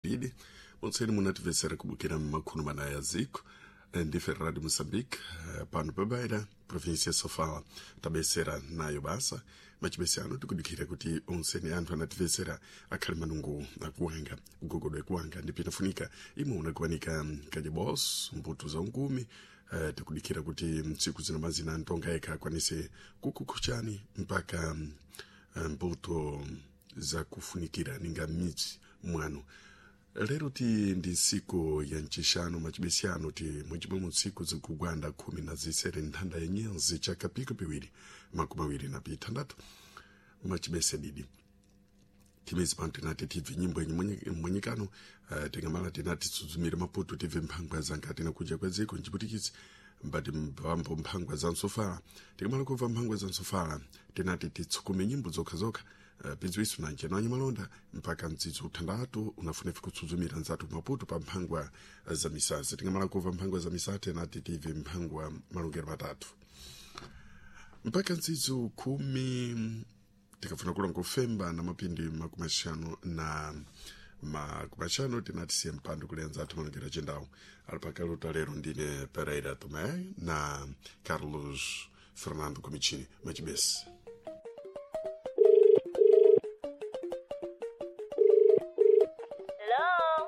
Didi monseni munatimvetsera kubukira mumakhumi mana ya ziko ndife Radio Moçambique pano pabaira província ya Sofala tabesera nayo basa machibese ano tikudikira kuti onseni anthu anatimvetsera akhale manungu akuwanga ugogodwe kuwanga ndipo inafunika imwe unakuwanika kajebos mbuto za unkumi. Tikudikira kuti mtsiku zina mazina antonga yekha akwanise kukukhuchani mpaka mbuto zakufunikira ninga midzi mwanu. Lero ti ndi ntsiku ya ncixanu macibesiyano ti mwecimwe mu ntsiku zikugwanda 16 nthanda ya nyenzi chaka piko piwiri 2026 macibese didi timezi pano tinati tibve nyimbo yenye mwenyekano. Tingamala tinati tsudzumire maputo tibve mphangwa zankati nakuja kwa dziko nchiputikitsi mbati mpambo mphangwa za msofala. Tikamala kubva mphangwa za msofala tinati titsukume nyimbo zokhazokha, pidziwiso na nchenanyi malonda mpaka mdzidzi uthandatu unafunefe kutsudzumira nzathu maputo pa mphangwa za misasa. Tingamala kubva mphangwa za misasa tinati tibve mphangwa malongero matatu mpaka mdzidzi 10 tikafuna kulonga kufemba na mapindi 50 tinati siye mpando kulenza athu malongero achendawo ali pakaluta. Lero ndine Pereira Tomé na Carlos Fernando Comicini machibesi.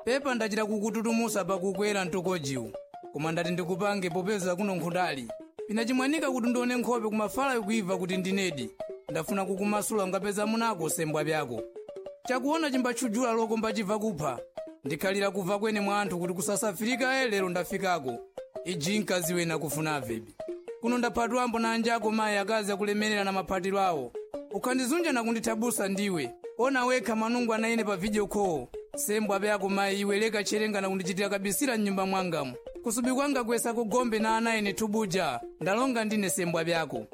Pepa ndachita kukututumusa pakukwera mtokojiwu, koma ndati ndikupange popeza kuno nkhundali pinachimwanika kuti ndione nkhope kumafala ikuibva kuti ndinedi ndafuna kukumasula ungapeza munako sembwa byako chakuona chimbatchujula loko mbachibva kupha ndikhalira kubva kwene mwa anthu kuti kusasafirika lero ndafikako iji mkazi wena kufuna vebi kuno ndaphatwambo na anjako mayi akazi akulemerera na maphatiro awo ukhandizunja nakundithabusa ndiwe ona wekha manungu anaine pa video call sembwa pyako mayi iwe leka cherenga nakundichitira kabisira mnyumba mwangamu kusubi kwanga kwesa kugombe na ana ine thubuja ndalonga ndine sembwa pyako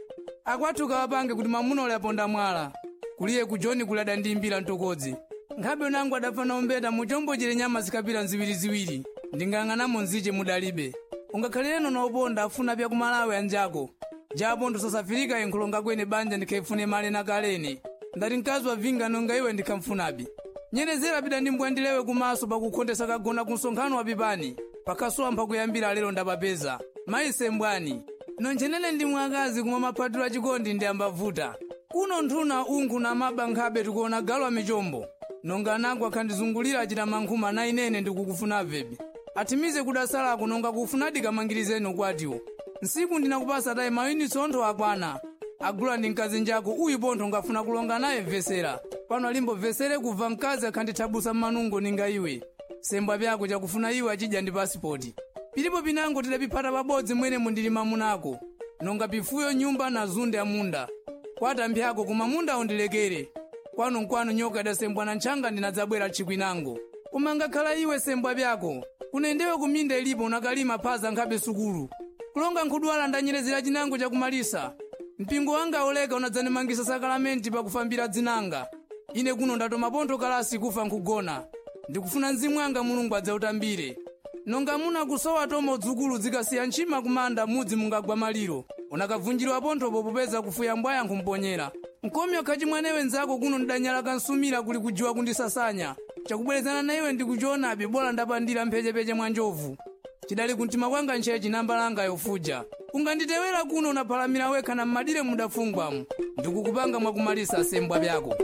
akwathu kawapange kuti mamuna ule aponda mwala kuliye kujoni kulada ndimbira mtokodzi nkhabe unangu adafana umbeta muchombo chile nyama zikapita nziwiriziwiri ndingang'anamo nziche mudalibe ungakhalireno na uponda afuna pya kumalawi anjako japo ndosasafirika inkhulonga kwene banja ndikhaifune male na kalene ndati mkazi wavinga nonga iwe ndikhamfunabi nyerezera pita ndi mbwandilewe kumaso pakukhondesa kagona ku msonkhano wapipani pakhasowa mpakuyambira lero ndapapeza mayi sembwani nonchenene ndi mwakazi kumwa maphatiro achikondi ndi ambavuta kuno nthuna unkhu na maba nkhabe tikuona galu amichombo nonga anango akhandizungulira achita mankhuma na inene ndikukufuna vebi athimize kudasalako nonga kufunadi kamangirizeni ukwatiwo nsiku ndinakupasa tayi mayunitsi ontho akwana agula ndi mkazi njako uyu pontho ngafuna kulonga naye mvesera pano alimbomvesere kubva mkazi akhandithabusa mmanungo ninga iwe sembwa pyako chakufuna iwe achidya ndi pasipoti pilipo pinango tidapiphata pabodzi mwene mundilima munako nonga pifuyo nyumba na zunde amunda kwata mphyako koma munda undilekere kwanu nkwanu nyoka idasembwa na ntchanga ndinadzabwera tchikwinango koma ngakhala iwe sembwa pyako kunendewe kuminda ilipo unakalima phaza nkhabe sukulu kulonga nkhudwala ndanyerezera chinango chakumalisa mpingo wanga oleka unadzandimangisa sakalamenti pakufambira dzinanga ine kuno ndatoma pontho kalasi kufa nkhugona ndikufuna mzimu wanga mulungu adzautambire nonga muna kusowa tomo dzukulu zikasiya ntchima kumanda mudzi mungagwa maliro unakavunjirwa ponthopo popeza kufuya mbwaya nkhumponyera nkomyo khachimwanewe nzako kuno ndidanyala kansumira kuli kujiwa kundisasanya chakubwerezana na iwe ndikuchionabe bola ndapandira mphechepeche mwa njovu chidali kumtima kwanga ntchechi nambalanga yofuja unganditewera kuno unaphalamira wekha na mmadire mudafungwamu ndikukupanga mwakumalisa sembwa byako.